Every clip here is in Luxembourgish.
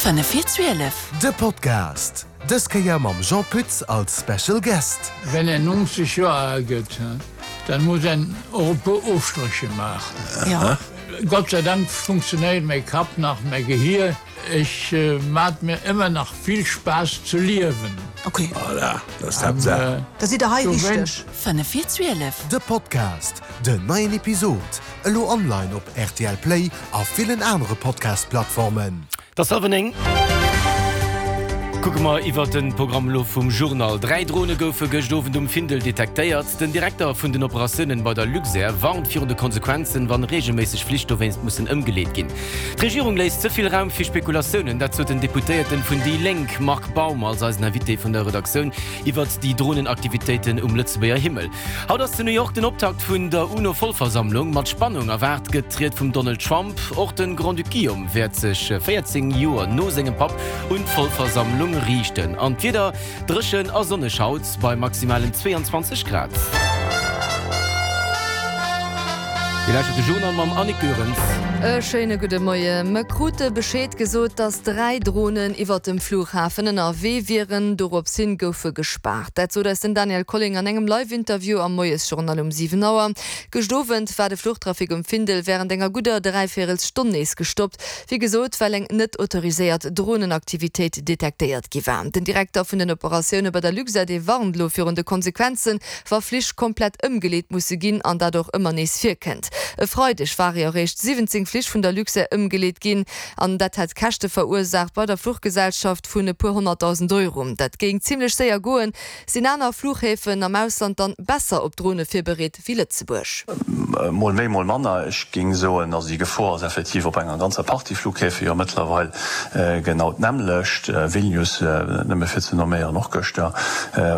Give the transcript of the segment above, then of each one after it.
Fënnef vir 12. De Podcast, dës Kéier mam Jean Pütz als Special Guest. Wenn een 90 Joer al gëtt, dann muss een och e puer Ofstrécher maachen. Gott sei Dank funktionéiert mäi Kapp nach, mäi Gehier. Ech mat mir ëmmer nach vill Spaass ze liewen. Ok. Voilà, dat ass d'Haaptsaach. Da sidd der hei richteg. Fënnef vir 12. De Podcast, Den neien Episod elo online op rtl Play a villen anere Podcast-Plattformen. Et ass hallwer 9. Kucke mer iwwert de Programm elo vum Journal. 3 Drone goufe gëscht Owend um Findel detektéiert. Den Direkter vun den Operatiounen bei der Luxair warnt virun de Konsequenzen, wann reegelméisseg Flich dowéinst mussen ëmgeleet ginn. D'Regierung léisst ze vill Raum fir Spekulatiounen, dat sot den Deputéierten vun déi Lénk Marc Baum als eisen Invité vun der Redaktioun iwwert déi Dronenaktivitéiten um Lëtzebuerger Himmel. Haut ass zu New York den Optakt vun der UNO-Vollversammlung. Mat Spannung erwaart gëtt d'Ried vum Donald Trump. Och de Grand-Duc Guillaume wäert sech 14 Joer no sengem Papp un d'Vollversammlung riichten. An d'Wieder, Dréchen a sonneg haut bei maximalen 22 Grad. Dir lauschtert de Journal mam Annick Goerens. E schéine gudde Moie. Mer krute Bescheed gesot, dass 3 Dronen iwwert dem Flughafen ënnerwee wieren. Dorops hin goufe gespaart. Dat sot eis den Daniel Colling an engem Live-Interview am Moiesjournal um 7 Auer. Gëscht Owend war de Fluchtrafic um Findel wärend enger gudder Dräivéierelsstonn nees gestoppt. Wéi gesot, well eng net autoriséiert Dronenaktivitéit detektéiert gi war. Den Direkter vun den Operatioune bei der Luxair, dee warnt elo virun de Konsequenzen, wa Flich komplett ëmgeleet musse ginn an dat och ëmmer nees virkënnt. E Freideg ware jo eréischt 17 Flich vun der Luxair ëmgeleet ginn an dat hätt Käschte verursaacht bei der Fluchgesellschaft vun e puer 100.000 Euro. Dat géing zimmlech séier goen. Sinn aner Fluchhäfen am Ausland dann besser op Drone virbereet wéi Lëtzebuerg? Mol méi, mol manner. Ech géing soen, also déi Gefor ass effektiv op enger ganzer Partie Flughäfe jo mëttlerweil genau d'nämmlecht. Vilnius, nëmme fir ze nomméieren, och gëschter,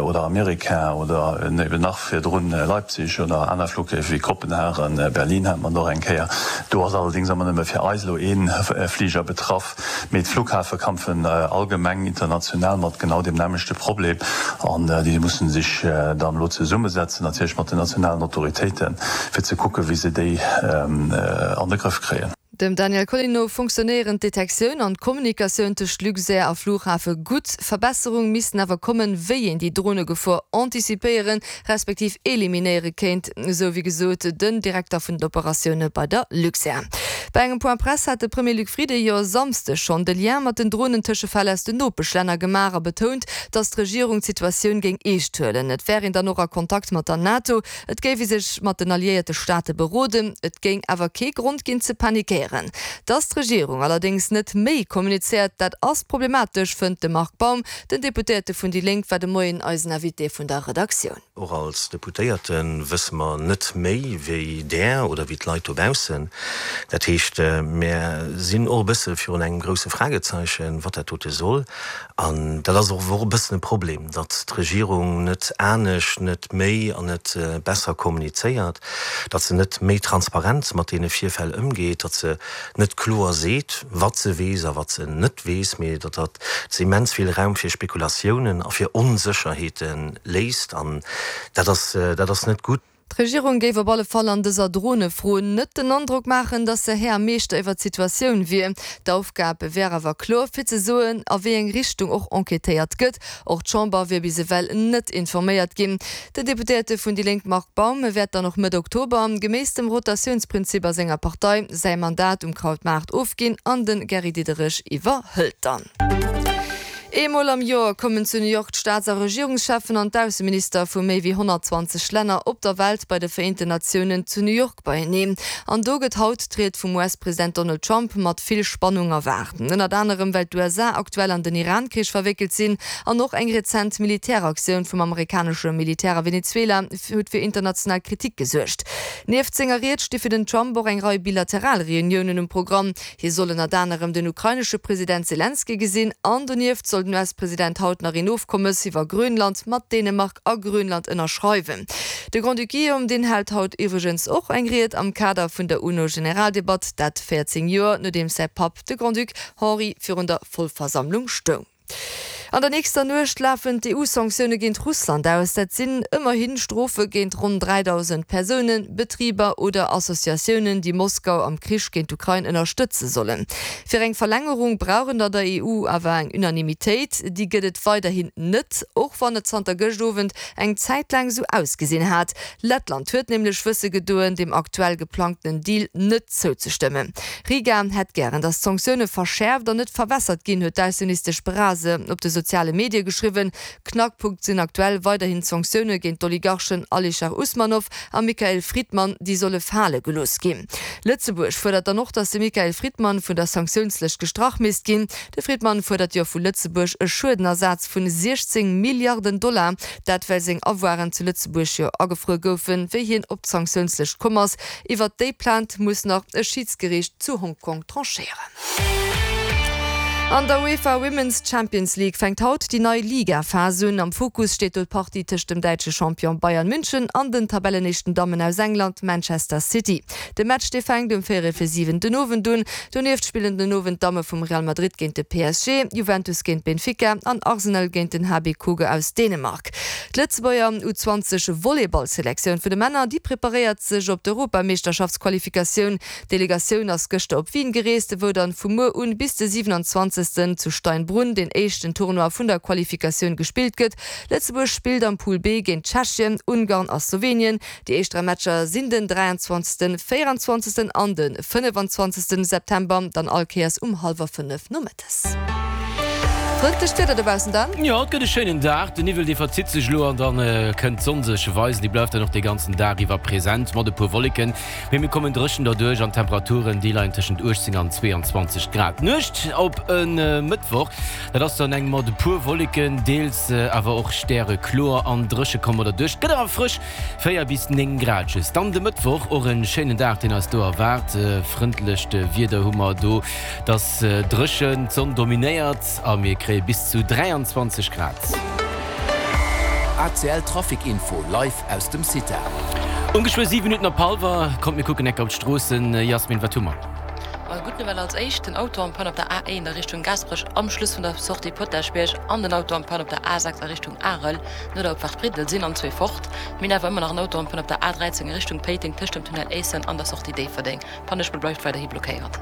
oder Amerika oder eben nach virdrun Leipzig oder aner Flughäfe wéi Kopenhagen, Berlin hat mer och eng Kéier. Do ass allerdéngs ëmmer nëmme fir eis elo ee Fliger betraff. Mee d'Flughäfe kampfen allgemeng international mat genau deem nämmlechte Problem an déi musse sech dann elo zesummesetzen, natierlech mat den nationalen Autoritéiten, fir ze kucken, wéi se déi an de Grëff kréien. Dem Daniel Colling no funktionéieren d'Detektioun an d'Kommunikatioun tëscht Luxair a Flughafe gutt. Verbesserung missten awer kommen, wéi een déi Dronegefor anticipéieren, respektiv eliminéiere kéint, esou wéi gesot den Direkter vun den Operatioune bei der Luxair. Bei engem Point Presse hat de Premier Luc Frieden jo e Samsdeg schonn de Lien mat den Dronentëschefäll aus den Nopeschlänner gemaach a betount, datt d'Regierung d'Situatioun géing eescht huelen. Et wär een dann och a Kontakt mat der NATO, et géif ee sech mat den alliéierte Staate beroden, et géing awer kee Grond ginn ze panikéieren. Datt d'Regierung allerdéngs net méi kommunizéiert, dat ass problematesch, fënnt de Marc Baum. Den Deputéierte vun déi Lénk war de Moien eisen Invité vun der Redaktioun. Och als Deputéierte wësse mer net méi wéi där oder wéi d'Leit dobaussen. Dat heescht, mär sinn och e bësse virun engem grousse Fragezeichen, wat dat dote soll. An dat ass och e bëssen e Problem, datt d'Regierung net anescht, net méi an net besser kommunizéiert, datt se net méi transparent mat deene Virfäll ëmgeet, datt se net kloer seet, wat se weess a wat se net weess, mee datt dat se immens vill Raum fir Spekulatiounen a fir Onsécherheete léisst. An dat ass, dat ass net gutt. D'Regierung géif op alle Fall an dëser Dronefro net den Androck maachen, datt se Här a Meeschter iwwer d'Situatioun wier. D'Aufgab wär awer kloer, fir ze soen, a wéi eng Richtung och enquêtéiert gëtt. Och d'Chamber wier bis ewell net informéiert ginn. Den Deputéierte vun déi Lénk Marc Baum wäert dann och Mëtt Oktober, geméiss dem Rotatiounsprinzip a senger Partei, säi Mandat um Krautmaart ofginn an de Gary Diderich iwwerhëlt dann. Eemol am Joer kommen zu New York d'Staats a Regierungscheffen an d'Ausseminister vu méi wéi 120 Länner op der Welt bei de Vereenten Natiounen zu New York beieneen. An do gëtt haut d'Ried vum US-President Donald Trump mat vill Spannung erwaart. Ënnert anerem well d'USA aktuell an den Iran-Krich verwéckelt sinn an och eng rezent Militäraktioun vum amerikanesche Militär a Venezuela huet fir international Kritik gesuergt. Nieft senger Ried sti fir den Trump och eng Rei bilateral Reuniounen um Programm. Hie soll ënnert anerem den ukrainesche President Selenskyj gesinn an donieft soll den US-President haut nach een Ofkommes iwwer Grönland mat Dänemark a Grönland ënnerschreiwen. De Grand-Duc Guillaume, deen hält haut iwwregens och eng Ried am Kader vun der UNO-Generaldebatt, dat 14 Joer nodeems säi Papp, de Grand-Duc Henri, virun der Vollversammlung stoung. An der nächster Nuecht lafen d'EU-Sanktioune géint Russland aus. Dat sinn ëmmerhi Strofe géint ronn 3.000 Persounen, Betriber oder Associatiounen, déi Moskau am Krich géint d'Ukrain ënnerstëtze sollen. Fir eng Verlängerung brauch et an der EU awer eng Unanimitéit. Déi gëtt et weiderhin net, och wann et zanter gëscht Owend eng Zäit laang esou ausgesinn hat. Lettland huet nämlech wësse gedoen, dem aktuell geplangtenen Deal net zouzestëmmen. Riga hätt gären, datt d'Sanktioune verschäerft an net verwässert ginn, huet d'Ausseministesch Brase op de soziale Medie geschriwwen. Knackpunkt sinn aktuell weiderhin d'Sanktioune géint d'Oligarchen Alischer Usmanow a Mikhail Fridman, déi solle fale gelooss ginn. Lëtzebuerg fuerdert dann och, datt de Mikhail Fridman vun der Sanktiounslëscht gestrach misst ginn. De Fridman fuerdert jo vu Lëtzebuerg e Schuedenersaz vun 16 Milliarden Dollar, dat well seng Avoiren zu Lëtzebuerg jo agefruer goufen, wéi hien op d'Sanktiounslëscht komm ass. Iwwert déi Plainte muss nach e Schidsgeriicht zu Hongkong tranchéieren. An der UEFA Women's Champions League fänkt haut déi nei Liga-Phas un. Am Fokus steet do d'Partie tëscht dem däitsche Champion Bayern München an den Tabellenéischten Dammen aus England, Manchester City. De Match dee fänkt um véierel fir 7 den Owend un. Donieft spillen den Owend d'Damme vum Real Madrid géint de PSG, Juventus géint Benfica an Arsenal géint den HB Køge aus Dänemark. D'Lëtzebuerger U20 Volleyballselektioun vun de Männer, déi preparéiert sech op d'Europameeschterschaftsqualifikatioun. D'Delegatioun ass gëschter op Wien gereest, wou dann vu muer un bis de 27 zu Steinbrunn den éischten Tournoi vun der Qualifikatioun gespillt gëtt. Lëtzebuerg spillt am Pool B géint Tschechien, Ungarn a Slowenien. Déi éischt 3 Matcher sinn den 23., 24. An de 25. September, dann all Kéiers um hallwer 5 nomëttes. Frëndlecht Wieder dobaussen dann? Jo, et gëtt e schéinen Dag. De Niwwel dee verzitt sech elo an dann kënnt d'Sonn sech weisen. Déi bleift dann och de ganzen Dag iwwer present mat e puer Wolleken, mee mir kommen dréchen derduerch an d'Temperaturen déi leien tëschent 18 an 22 Grad. D'Nuecht op e Mëttwoch, dat ass dann eng mat e puer Wolleken, deels awer och stärekloer an dréche komme mer derduerch. Et gëtt awer frësch. 4 bis 9 Grad just. Dann de Mëttwoch och en schéinen Dag deen eis do erwaart. Frëndlecht Wieder hu mer do, et ass dréchen, d'Sonn dominéiert a mir kréie bis zu 23 Grad. ACL Trafic Info live aus dem CITA. Um geschwë 7 Minutten op hallwer. Kommt mir kucken enker op d'Stroossen. Jasmin, wat hu mer? Gutt Nouvelle als éischt, den Auto en panne op der A1 a Richtung Gaasperech am Schluss vun der Sortie Potaschbierg an den Auto en panne op der A6 a Richtung Arel. No der Opfaart Briddel sinn an zwee fort. Mir hunn awer ëmmer nach en Auto am Panne op der A 13 a Richtung Péiteng tëscht dem Tunnel Éissen an der Sortie Déifferdeng. D'Pannespuer bleift weiderhi blockéiert.